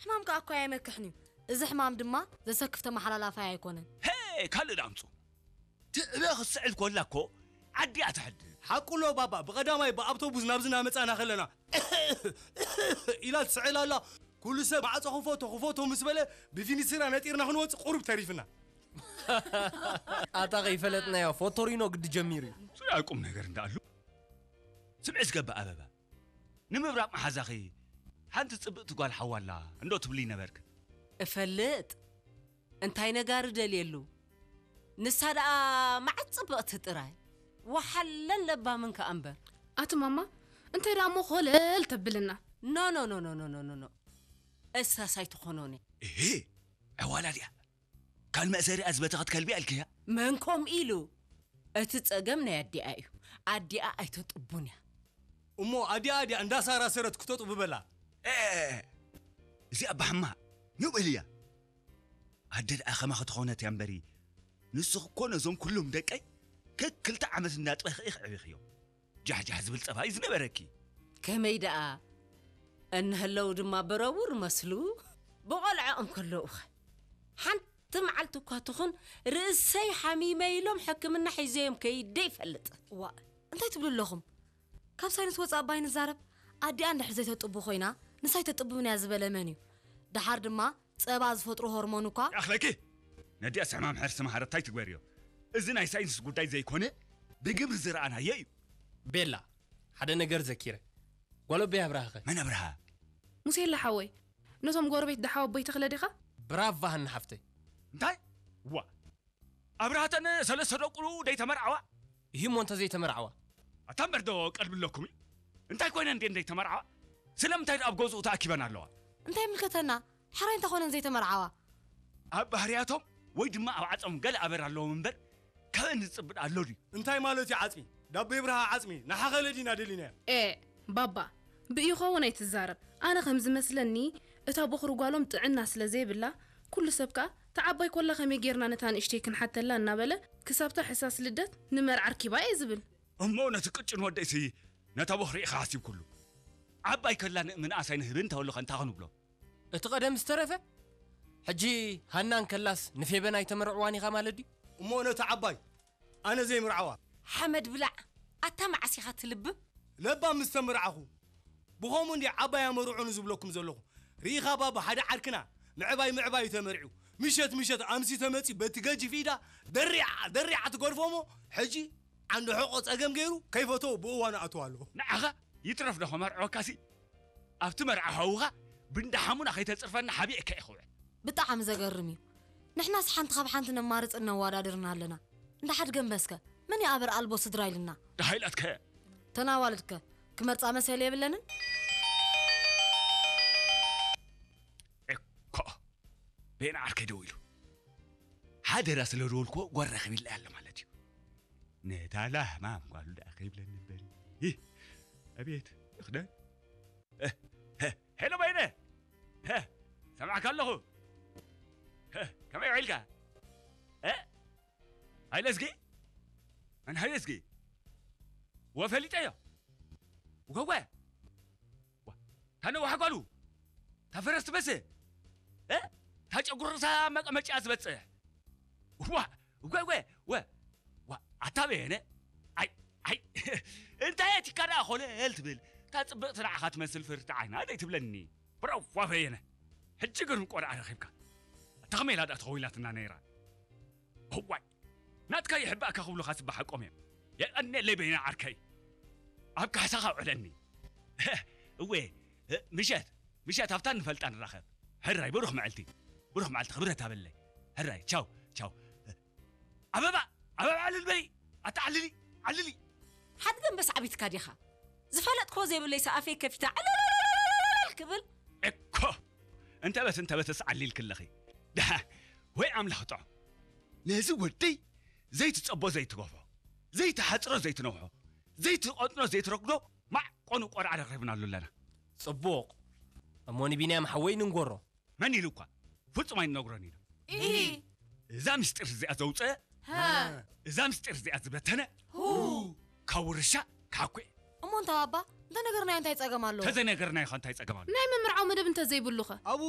ሕማም ከኣ እኮ ኣይመክሕን እዩ። እዚ ሕማም ድማ ዘሰክፍ ተመሓላላፋይ ኣይኮነን። ሄ ካልእ ዳምፁ ትዕበ ክትስዕል ኮላ እኮ ዓዲያ ትሕድግ። ሓቁሎ ባባ፣ ብቐዳማይ ብኣውቶቡስ ናብዚ እናመጻና ከለና ኢላ ትስዕል ኣላ። ኩሉ ሰብ ማዕጾ ክፈቶ ክፈቶ ምስ በለ ብፊኒስራ ነጢርና ክንወጽእ ቁሩብ ተሪፍና። ኣታ ከይፈለጥናዮ ፎቶሪኖ ግዲ ጀሚሩ እዩ። ዙርያ ቁም ነገር እንዳኣሉ ስምዒ ዝገብእ ኣበባ ንምብራቕ መሓዛኺ ሓንቲ ጽብቕቲ ጓል ሓዋላ እንዶ ትብሊ ነበርክ። እፈልጥ እንታይ ነጋሪ ደልየሉ ንሳ ደኣ መዓት ጽብቕቲ ጥራይ ወሓለን ለባምን ከኣ እምበር። ኣቲ ማማ እንታይ ደኣ እሞ ኮለል ተብልና። ኖ ኖ ኖ ኖ ኖ ኖ ኖ እሳስ ኣይትኾኖን እያ። እህ ዕዋላ ድያ ካብ መእሰሪኣ ዝበተኸት ከልቢ ኣልክያ። መን ከምኡ ኢሉ እቲ ጸገም ናይ ኣዲኣ እዩ። ኣዲኣ ኣይተጥቡን እያ። እሞ ኣዲኣ ድያ እንዳሳራሰረት ክተጥቡ በላ። ኤ እዚኣ ኣባ ሕማቕ ንውዕል እያ። ኣደ ደኣ ከማኺ ተኾነት እያ እምበሪ ንስኺ እኮ ነዞም ኩሎም ደቀይ ከክልተ ዓመት እንዳጥበኺ ኢኺ ኣዕቢኽዮም። ጃሕጃሕ ዝብል ጸባይ ዝነበረኪ። ከመይ ደኣ እንህለው ድማ በረቡር መስሉ ብቖልዐኦም ከለውኸ ሓንቲ መዓልቲ እኳ ትኹን ርእሰይ ሓሚመ ኢሎም ሕክምና ሒዘዮም ከይደ ይፈልጥ። ዋእ እንታይ ትብሉ ኣለኹም? ካብ ሳይንስ ወፃእ ባይ ንዛረብ። ኣዲኣ እንድሕር ዘይተጥቡ ኮይና ንሳይ ተጥብብን እያ ዝበለ መን እዩ? ደሓር ድማ ጸባ ዝፈጥሩ ሆርሞን እኳ። ይኣኽለኪ! ነዲኣስ ሕማም ሕርሲ መሃረታይ ትግበርዮ። እዚ ናይ ሳይንስ ጉዳይ ዘይኮነ ብግብሪ ዝረኣናዮ እዩ። ቤላ፣ ሓደ ነገር ዘኪረ። ጓል ኣቦይ ኣብርሃኸ? መን ኣብርሃ? ሙሴላ ሓወይ፣ ነቶም ጎረቤት ደሓው ኣቦይ ተኽለ ዲኻ? ብራቫ ሃኒ ሓፍተይ። እንታይ? ዋ ኣብርሃተን ሰለስተ ደቁ ደይተመርዓዋ? ይህሞ እንተ ዘይተመርዓዋ? ኣታ እምበር ዶ ቀልቢ ኣለኩም እዩ? እንታይ ኮይነን ድየን ደይተመርዓዋ? ስለምንታይ ኣብ ገዝኡ ተኣኪበን ኣለዋ? እንታይ ይምልከተና? ሕራይ እንተኾነን ዘይተመርዓዋ? ኣብ ባህርያቶም ወይ ድማ ኣብ ዓጾም ገለ ኣበር ኣለዎም እምበር ካበን ዝጽብእ ኣሎ ድዩ? እንታይ ማለት እዩ ዓጽሚ? ዳቦ ይብርሃ ዓጽሚ ንሓኸለ ዲና ደሊናዮ። ኤ ባባ ብኢኾ እውን ኣይትዛረብ። ኣነ ከም ዝመስለኒ እታ ቦኽሪ ጓሎም ጥዕና ስለ ዘይብላ ኩሉ ሰብ ከኣ ተዓባይ ኮላ ከመይ ጌርና ነታ ንእሽተይ ክንሓተላ እናበለ ክሳብታ ሕሳስ ልደት ንመርዓ ኣርኪባ እየ ዝብል። እሞ ነቲ ቅጭን ወደይሲ ነታ ቦኽሪ ኢኻ ሓሲብኩሉ። ዓባይ ከላ ንእምንኣስ ኣይንህብን ተበሉኸ እንታይ ክንብሎ? እቲ ቀደም ዝተረፈ ሕጂ ሃና እንከላስ ንፌበን ኣይተመርዕዋን ኢኻ ማለት ድዩ? እሞ ነቲ ዓባይ ኣነ ዘይምርዓዋ። ሓመድ ብላዕ ኣታ መዓስ ኢኻ ትልብም? ለባም ምስ ተመርዓኹ ብኸምኡ እንዲ ዓባይ ኣመርዑኒ ዝብለኩም ዘለኹ። ርኢኻ ባባ ሓደ ዓርክና ምዕባይ ምዕባይ እዩ ተመርዒው። ምሸት ምሸት ኣምሲ ተመጺ በቲ ገጅፍ ኢዳ ደሪዓ ደሪዓ ትገድፎ እሞ ሕጂ ዓንዲ ሕቖ ጸገም ገይሩ ከይፈተዎ ብእዋኑ ኣትዋ ኣለኹ። ንዓኻ ይትረፍ ዶ ከመርዕወካሲ ኣብቲ መርዓ ሓውኻ ብንዳ ሓሙና ከይተጽርፈና ሓቢእካ ኢኹ ውዕል። ብጣዕሚ ዘገርም እዩ። ንሕናስ ሓንቲ ካብ ሓንቲ ነማርጽን ነዋዳድርን ኣለና። እንዳ ሓድገምበስከ መን ይኣበር ኣልቦ ስድራ ኢልና። ደሃይላትከ ተናዋልድከ ክመርጻ መሰል የብለንን። እኮ ቤና ዓርከይ ደው ኢሉ ሓደራ ስለ ዝወልክዎ ጓል ረኺብላ ኣለ ማለት እዩ። ነታ ላህማም ጓሉ ደኣ ከይብለኒ እምበሪ። ይህ ኣቤት ይኽደን። ሄሎ በይነ፣ ሰማዕካ ኣለኹ። ከመይ ውዒልካ? ሃይለ እዝጊ፣ መን ሃይለ እዝጊ? ወፈሊጠዮ። ወወ፣ ዋ፣ ታነዋሕ ጓሉ፣ ታፈረስ ትበስህ፣ ታጨጉርሳ መቀመጫ ዝበጽሕ። ዋ፣ ወወ፣ ወ፣ ዋ፣ ኣታ በየነ፣ ኣይ፣ ኣይ፣ እንታይ ኣቲካ ደኣ ኮለል ትብል? እታ ጽብቕቲ ንዓኻ ትመስል ፍርቲ ዓይና ደይ ትብለኒ። ብራዋ በየነ፣ ሕጂ ግን ቆልዓ ረኺብካ። እታ ከመይ ኢላ ደኣ ተኸዊላትና ነይራ? እዋይ፣ ናትካ ይሕባእካ ክብሉኻ ጽባሕ ሓቆም እዮም። የቐንየለይ በይነ ዓርከይ። ኣብ ካሕሳኻ ውዕለኒ። እወ፣ ምሸት፣ ምሸት ኣብታ ንፈልጣ ንራኸብ። ሕራይ፣ ብሩኽ መዓልቲ። ብሩኽ መዓልቲ፣ ክብረት ኣበለይ። ሕራይ፣ ቻው፣ ቻው። ኣበባ፣ ኣበባ ዕልል በሊ። ኣታ ዓልሊ፣ ዓልሊ። ሓድገምበስ ዓቢትካ ዲኻ? ዝፈለጥክዎ ዘይብለይስ ኣፈይ ከፊተ ዕልልልልልል ክብል? እኮ እንተበት እንተበትስ ዓሊልክለኺ። ደሓ ወይ ኣምላኽ ጥዖ። ነዚ ወደይ ዘይትጸቦ ዘይትገፎ፣ ዘይትሓጽሮ ዘይትነውሖ፣ ዘይትቐጥኖ ዘይትረግዶ ማዕቆኑ ቆርዓ ረኺብናሉ ኣለና። ጽቡቕ። እሞ ንቢንያም ሓወይ ንንጎሮ። መን ኢሉ እኳ ፍጹም ኣይንነግሮን ኢና። እሂ። እዛ ምስጢር እዚኣ ዘውፀአ ሃ። እዛ ምስጢር እዚኣ ዝበተነ ሁ። ካብ ውርሻ ክሓኩ እየ። እሞ እንታ ባባ እንተነገርናዮ እንታይ ጸገም ኣለዎ? ተዘይነገርናዮ ኸ እንታይ ጸገም ኣሎ? ናይ ምምርዓው መደብ እንተዘይብሉ ኸ? ኣብኡ